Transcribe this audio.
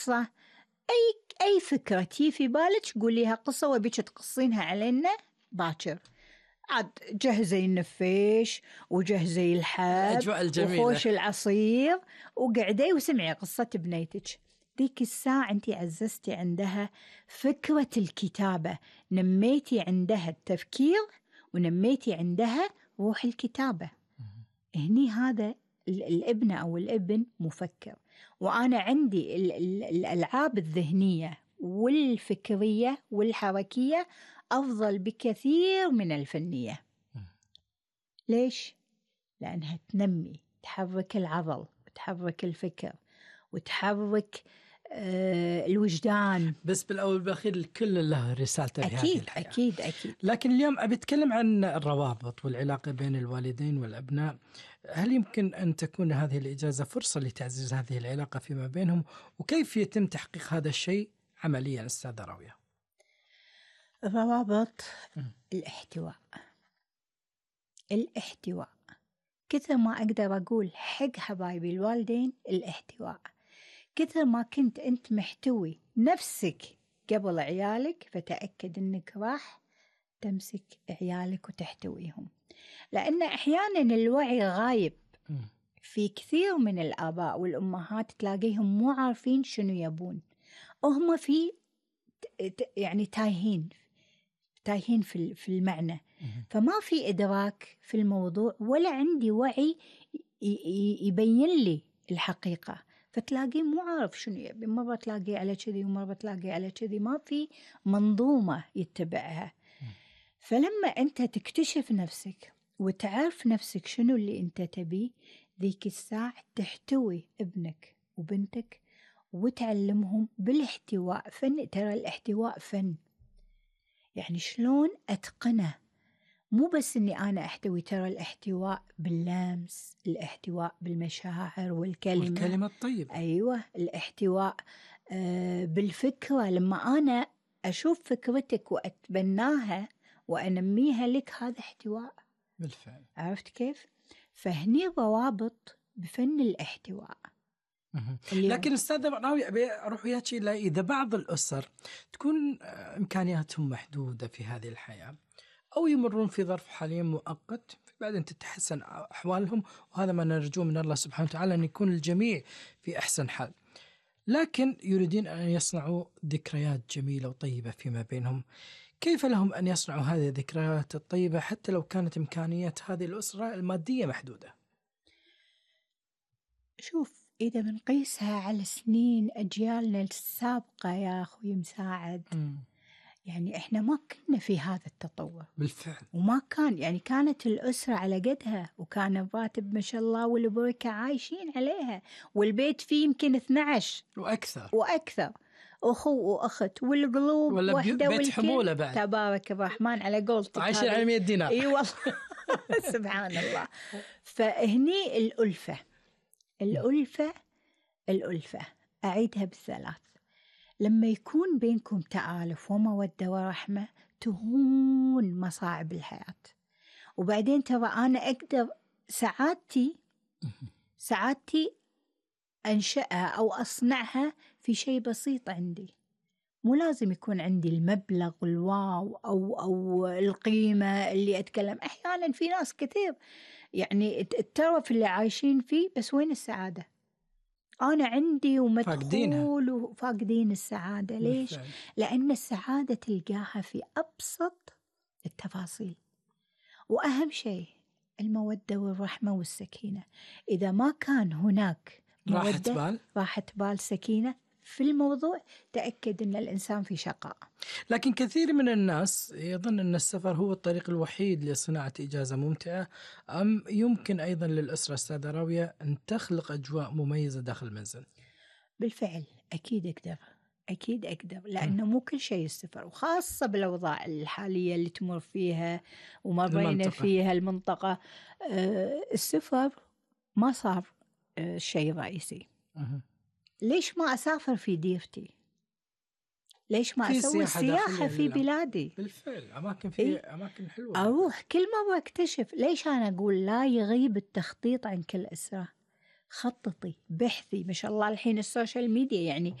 قصة، أي فكرة تي في بالك قوليها قصة وبيك تقصينها علينا باكر. عاد جهزي النفيش وجهزي الحب وخوش العصير وقعدي وسمعي قصة بنيتك. ذيك الساعة أنتي عززتي عندها فكرة الكتابة، نميتي عندها التفكير ونميتي عندها روح الكتابة. هني هذا الابن أو الابن مفكر، وأنا عندي الألعاب الذهنية والفكرية والحركية أفضل بكثير من الفنية. ليش؟ لأنها تحرك العضل وتحرك الفكر وتحرك الوجدان. بس بالأول بالأخير الكل له رسالته في هذه الحياة. أكيد. لكن اليوم أبي أتكلم عن الروابط والعلاقة بين الوالدين والأبناء. هل يمكن أن تكون هذه الإجازة فرصة لتعزيز هذه العلاقة فيما بينهم، وكيف يتم تحقيق هذا الشيء عمليا أستاذة راوية؟ الروابط، الاحتواء كثر ما أقدر أقول حق حبايبي الوالدين، الاحتواء. كثر ما كنت أنت محتوي نفسك قبل عيالك فتأكد أنك راح تمسك عيالك وتحتويهم، لأن أحيانا الوعي غايب في كثير من الآباء والأمهات، تلاقيهم مو عارفين شنو يبون، وهم في يعني تايهين في المعنى، فما في إدراك في الموضوع ولا عندي وعي يبين لي الحقيقة، فتلاقيه مو عارف شنو يبي، مرة تلاقيه على كذي ومرة تلاقيه على كذي، ما في منظومة يتبعها. فلما أنت تكتشف نفسك وتعرف نفسك شنو اللي أنت تبيه، ذيك الساعة تحتوي ابنك وبنتك وتعلمهم بالاحتواء. فن، ترى الاحتواء فن، يعني شلون أتقنه، مو بس أني أنا أحتوي، ترى الاحتواء باللمس، الاحتواء بالمشاعر والكلمة الطيبة. أيوة، الاحتواء بالفكرة، لما أنا أشوف فكرتك وأتبناها وأنميها لك، هذا احتواء بالفعل. عرفت كيف؟ فهني روابط بفن الاحتواء. لكن أستاذة راوية أبي أروح وياك إلى إذا بعض الأسر تكون إمكانياتهم محدودة في هذه الحياة، أو يمرون في ظرف حاليا مؤقت بعدين تتحسن أحوالهم، وهذا ما نرجوه من الله سبحانه وتعالى أن يكون الجميع في أحسن حال، لكن يريدون أن يصنعوا ذكريات جميلة وطيبة فيما بينهم. كيف لهم أن يصنعوا هذه الذكريات الطيبة حتى لو كانت إمكانيات هذه الأسرة المادية محدودة؟ شوف، إذا بنقيسها على سنين أجيالنا السابقة يا أخوي مساعد، يعني إحنا ما كنا في هذا التطور بالفعل، وما كان، يعني كانت الأسرة على قدها، وكان الراتب ما شاء الله والبركة عايشين عليها، والبيت فيه يمكن 12 وأكثر أخو وأخت، والقلوب وحدة، بيت حمولة بعد، تبارك الرحمن على قولتك، عايشين على 100 دينار. أي والله سبحان الله. فهني الألفة أعيدها بالثلاث، لما يكون بينكم تآلف ومودة ورحمة تهون مصاعب الحياة. وبعدين ترى أنا أقدر سعادتي أنشأها أو أصنعها في شيء بسيط عندي، مو لازم يكون عندي المبلغ الواو أو القيمة اللي أتكلم. أحيانا في ناس كثير يعني الترف اللي عايشين فيه، بس وين السعادة؟ أنا عندي ومدخول وفاقدين السعادة. ليش؟ لأن السعادة تلقاها في أبسط التفاصيل، وأهم شيء المودة والرحمة والسكينة. إذا ما كان هناك راحة بال سكينة في الموضوع، تأكد أن الإنسان في شقاء. لكن كثير من الناس يظن أن السفر هو الطريق الوحيد لصناعة إجازة ممتعة، أم يمكن أيضا للأسرة أستاذة راوية أن تخلق أجواء مميزة داخل المنزل؟ بالفعل أكيد أقدر، لأنه مو كل شيء السفر، وخاصة بالأوضاع الحالية اللي تمر فيها ومرينا فيها المنطقة. السفر ما صار شيء رئيسي. ليش ما أسافر في ديرتي؟ ليش ما أسوي سياحة في بلادي؟ بالفعل أماكن حلوة، أروح كل مرة أكتشف. ليش أنا أقول لا يغيب التخطيط عن كل أسرة؟ خططي، بحثي، ما شاء الله الحين السوشيال ميديا يعني